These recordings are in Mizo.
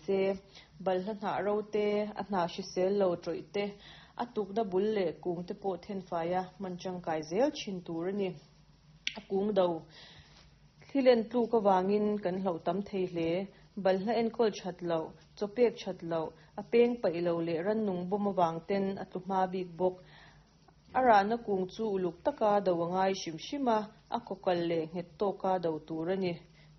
se. Balhla hnah ro te, a hnah hrisel lo tawih te, a tukna bul leh kung te pawh thenfaia hman tangkai zel thin tur a ni. A kung do thli len tluk avangin kan hlauh tam thei hle. Balhla enkawl that loh, chaw pek that loh, a peng paih lo leh rannung bawm avang ten a tlu hma bik bawk. A rahna kung chu uluk taka do a ngai hrim hrim a, a kawkal leh nghet tawka do tur a ni.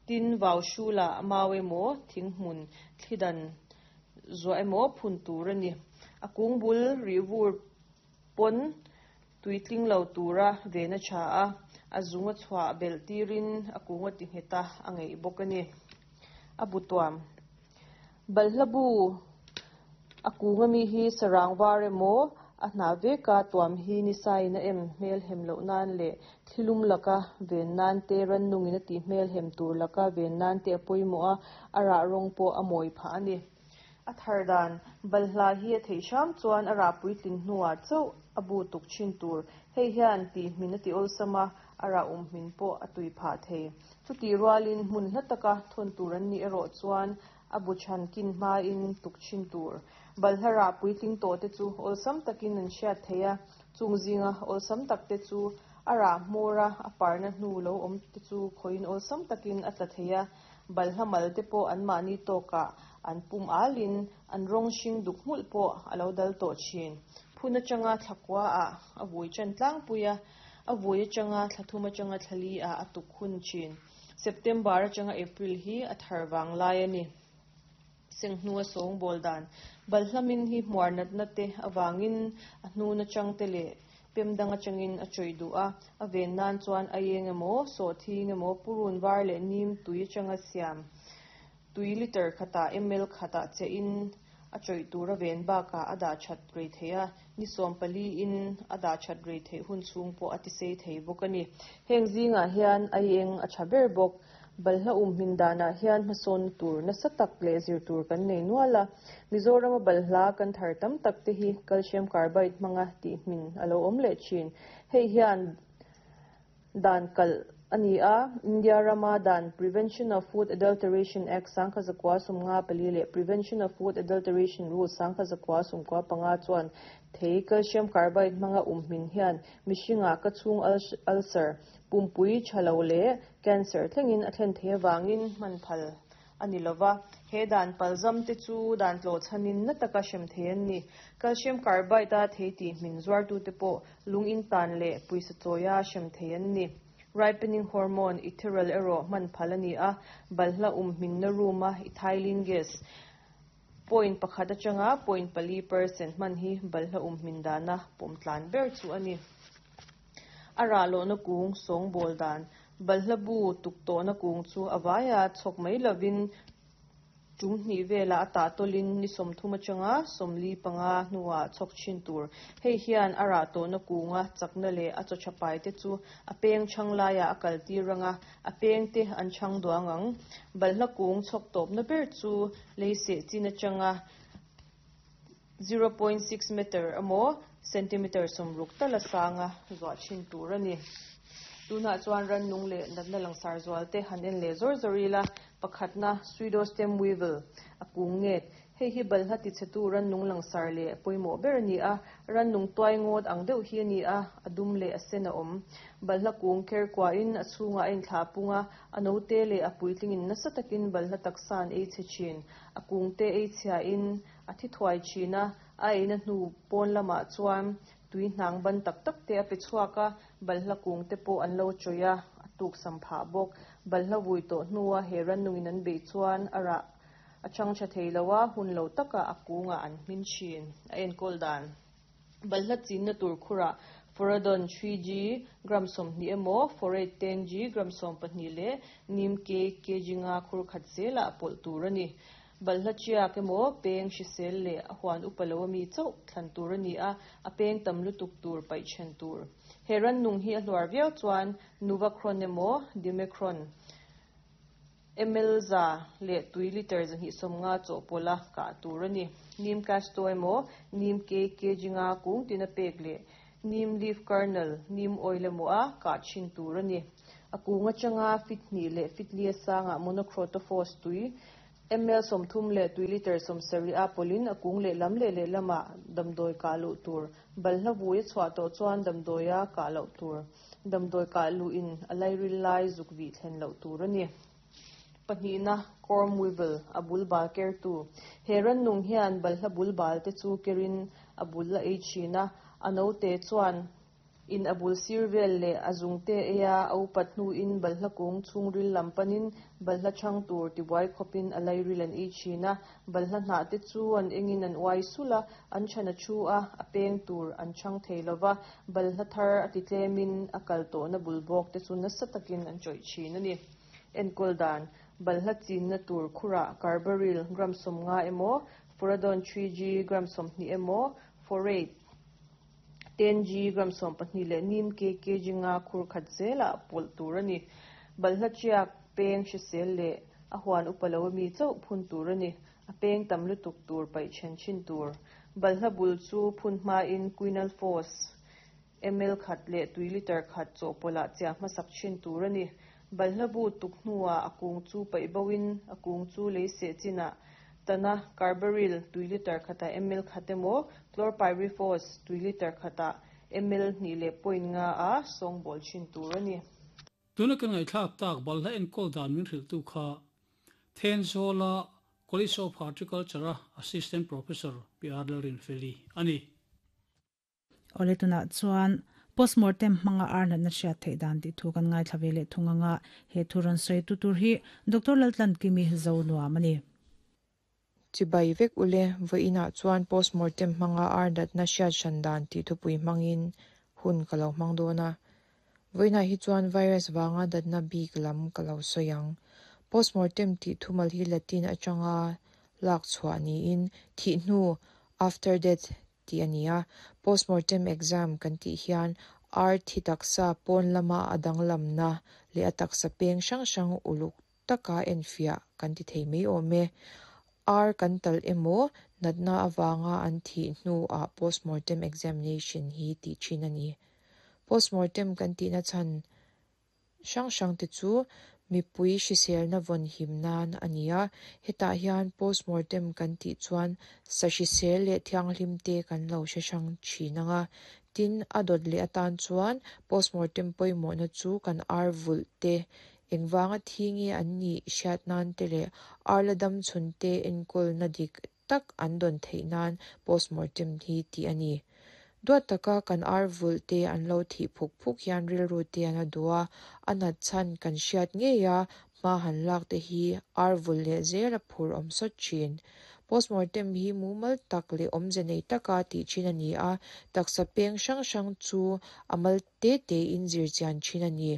Tin, vau hrulah a mau emaw, thinghmun, thli dan zuah emaw phun tur a ni. A kung bul rih vur pawn tuitling lo tura ven a tha a, a zung a chhuah belh tirin a kung a ti nghet a, a ngeih bawk a ni. A bu tuam. Balhla bu a kung ami hi sarang var emaw a hnah veka tuam hi nisain a em hmel hem loh nan leh thlilum laka ven nan te rannungin a tih hmel hem tur laka ven nan te a pawimawh a, a rah rawng pawh a mawi phah a ni. A thar dan, balhla hi a theih hram chuan a rah puitlin hnuah chauh a bu tuk thin tur. Hei hian tih hmin a ti awlsam a, a rah um hmin pawh a tui phah thei. Chutih rualin hmun hla taka thawn tur an nih erawh chuan a bu chhan kin hmain tuk thin tur. Balhla rah puitling tawh te chu awlsam takin an hriat thei a, chung zinga awlsam tak te chu a rah hmawra a parna hnu lo awm te chu khawiin awlsam takin a tla thei a, Balhla mal te pawh anmahni tawkah an pum alin an rawng hring duk hmulh pawh a lo dal tawh thin. Phun atanga thla kua ah a vui tan tlangpui a, a vui atanga thla thum atanga thla li ah a tuk hun thin. September atanga April hi a thar vang lai a ni. Senghnua sawngbawl dan balhla min hi hmuar natna te avangin a hnun atang te leh pem dang atangin a chawih duh a, a ven nan chuan a eng emaw, sawhthing emaw, purun var leh nim tui atanga siam tui liter khatah ml khatah chehin a chawih tur a ven bakah a dah that rei thei a, ni 14 in a dah that rei theih hun chhung pawh a tisei thei bawk a ni. Heng zingah hian a eng a tha ber bawk. Balhla um hmin danah hian hmasawnna tur nasa tak leh zir tur kan nei nual a. Mizorama balhla kan thar tam tak te hi calcium carbide hmanga tih hmin a lo awm leh thin. Hei hian dan kalh a ni a, India rama dan Prevention of Food Adulteration Act 1954 leh Prevention of Food Adulteration Rules 1995 chuan thei calcium carbide hmanga um hmin hian mihringah ka chhung ulcer Pumpui tha lo leh cancer thlengin a thlen thei avangin hman phal a ni lova. He dan palzam te chu dan tlawh chhanin na taka hrem thei an ni. Calcium carbide a thei tih hmin zuartute pawh lung in tan leh puisa chawia hrem thei an ni. Ripening hormone ethereal erawh hman phal a ni a, balhla um hminna room a ethylene gas point pakhat atanga point 4% hman hi balhla um hmin dana pawm tlan ber chu a ni. A rah lohna kung sawngbawl dan, balhla bu tuk tawhna kung chu a vaia chhawk mai lovin tum hnih velah a tah tawlin ni 30 atanga 45 hnuah chhawk thin tur. Hei hian a rah tawhna kunga chakna leh a chaw tha pai te chu a peng chhang laiah a kal tir anga, a peng te an chhang duang ang. Balhla kung chhawk tawpna ber chu lei seh chin atanga 0.6 meter emaw centimeter 60 tala sanga zuah thin tur a ni. Tunah chuan rannung leh natna langsar zual te han en leh zawr zawr ila, pakhatna pseudostem weevil a kung nget. Hei hi balhla tichhetu rannung langsar leh pawimawh ber a ni a, rannung tuai ngawt ang deuh hi a ni a, a dum leh a sen a awm. Balhla kung ker kuahin a chhungah a inthlah pung a, a note leh a puitlingin nasa takin balhla taksa an ei chhe thin. A kung te ei chhiain a thi thuai thin a, a eina hnu pawn lamah chuan tui hnang ban tak tak te a pe chhuak a, balhla kung te pawh an lo chawih a, a tuk sam phah bawk. Balhla vui tawh hnua he rannungin an beih chuan a rah a chang tha thei lo a, hun lo takah a kungah an hmin thin. A enkawl dan. Balhla chinna tur khurah Phoradon 3G gram 20 emaw, Phorate 10G gram 12 leh Neem cake kg nga khur khat zelah a pawlh tur a ni. Balhla chiak emaw, peng hrisel leh a huan upa lo ami chauh thlan tur a ni a, a peng tam lutuk tur paih then tur. He rannung hi a hluar viau chuan Nuvacron emaw, Dimecron, ml za leh tui liter 250 chawhpawlh a kah tur a ni. Neem casto emaw, neem cake kg nga kung tina pek leh neem leaf kernel, neem oil emaw a kah thin tur a ni. A kung atanga fit hnih leh fit li a sangah monocrotophos tui. Ml 30 leh tui litre 70 a pawlhin a kung lehlam leh lehlamah damdawi kah luh tur. Balhla vui a chhuah tawh chuan damdawia kah loh tur. Damdawi kah luhin a lairil lai zuk vih thlen loh tur a ni. Pahnihna, Corm Weevil, a bul bal kertu. He rannung hian balhla bul bal te chu kerin a bul a ei thin a, a note chuan In a bul sir vel leh a zungte eia a upat hnuin balhla kung chhungril lam panin balhla chhang tur tibuai khawpin a lairil an ei thin a, balhla hnah te chu an engin an uai sulh a, an chhan a thu a, a peng tur an chhang thei lo va, balhla thar a ti tlemin a kal tawhna bul bawk te chu nasa takin an chawih thin a ni. Enkawl dan, Balhla chinna tur khurah carbaryl gram 50 emaw, Furadon 3G gram 20 emaw, Phorate, 10G gram 12 leh nim kg nga khur khat zelah pawlh tur a ni. Balhla chiak, peng hrisel leh a huan upa lo ami chauh phun tur a ni. A peng tam lutuk tur paih then thin tur. Balhla bul chu phun hmain quinalphos ml khat leh tui litre khat chawhpawlhah chiah hmasak thin tur a ni. Balhla bu tuk hnuah a kung chu paih boin a kung chu lei seh chinah tana carbaryl tui litre khatah ml khat emaw, chlorpyrifos tui litre khatah ml hnih leh point nga a sawngbawl thin tur a ni. Tuna kan ngaihthlak tak balhla enkawl dan min hrilhtu kha Thenzawla College of Horticulture-a Assistant Professor Pi Arlalrinfeli a ni. Awle tunah chuan postmortem hmanga ar natna hriat theih dan tih thu kan ngaithla ve leh thung anga he thu rawn sawi tu tur hi Doctor Laltlankimi zo nuam a ni. Chibai vek ule, vawiinah chuan postmortem hmanga ar natna hriat hran dan tih thupui hmangin hun ka lo hmang dawn a. Vawiinah hi chuan virus vanga natna bik lam ka lo sawi ang. Postmortem tih thumal hi Latin atanga lak chhuah niin thih hnu, after death, tih a ni a, postmortem exam kan tih hian ar thi taksa pawn lama a danglamna leh a taksa peng hrang hrang uluk taka enfiah kan ti thei mai awm e. Ar kan talh emaw natna avanga an thih hnuah postmortem examination hi tih thin a ni. Postmortem kan tihna chhan hrang hrang te chu mipui hriselna vawn him nan a ni a, hetah hian postmortem kan tih chuan sa hrisel leh thianghlim te kan lo hre hrang thin ang a, tin a dawt leh atan chuan postmortem pawimawhna chu kan ar vulh te, engvanga thi nge an nih hriat nan te leh ar la dam chhun te enkawlna dik tak an dawn theih nan postmortem hi tih a ni. Duat taka kan ar vulh te an lo thih phuk phuk hian rilru te an a duh a, a nat chhan kan hriat ngei a, hma han lak te hi ar vulh leh zel a phur awm sawt thin. Postmortem hi mumal tak leh awmze nei taka tih thin a ni a, taksa peng hrang hrang chu a mal te tein zir chian thin a ni.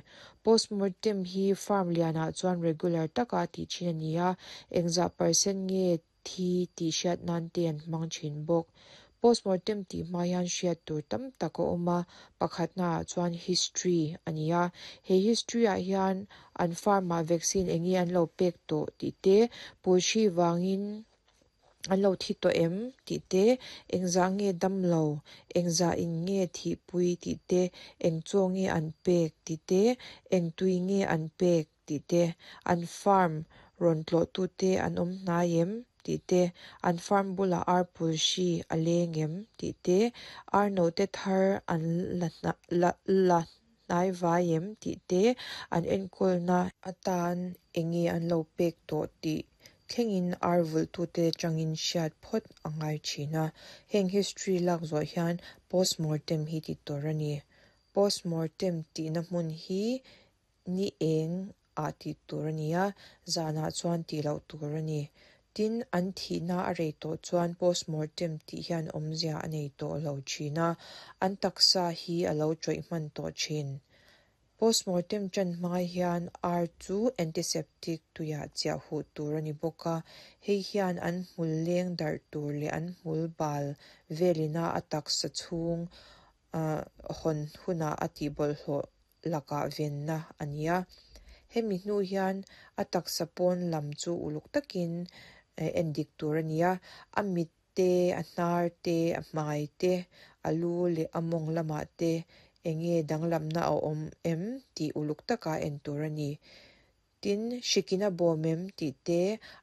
Postmortem hi farm lianah chuan regular taka tih thin a ni a, engzah percent nge thi tih hriat nan te an hmang thin bawk. Postmortem tih hma hian hriat tur tam tak a awm a, pakhatnaah chuan history a ni a. He history ah hian an farm ah vaccine eng nge an lo pek tawh tih te, pulhri vangin an lo thi tawh em tih te, engzah nge dam lo, engzah in nge thihpui tih te, eng chaw nge an pek tih te, eng tui nge an pek tih te, an farm rawn tlawhtute an awm hnai em tih te, an farm bulah ar pul hri a leng em tih te, ar note thar an la la hnai vai em tih te, an enkawlna atan eng nge an lo pek tawh tih thlengin ar vulhtute atangin hriat phawt a ngai thin a. Heng history lak zawh hian postmortem hi ti tur a ni. Postmortem tihna hmun hi Ni eng ah tih tur a ni a, zanah chuan tih loh tur a ni. Tin, an thihna a rei tawh chuan postmortem tih hian awmzia a nei tawh lo thin a, an taksa hi a lo tawih hman tawh thin. Postmortem tan hma hian ar chu antiseptic tuiah chiah huh tur a ni bawk a, hei hian an hmul leng darh tur leh an hmul bal velina a taksa chhung hawn hunah a tihbawlhhlawh lakah venna a ni a. Hemi hnu hian a taksa pawn lam chu uluk takin en dik tur a ni a, a mit te, a hnar te, a hmai te, a lu leh a mawng lamah te eng nge danglamna a awm em tih uluk taka en tur a ni. Tin, hrikin a bawm em tih te,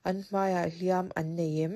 an hmaiah hliam an nei em?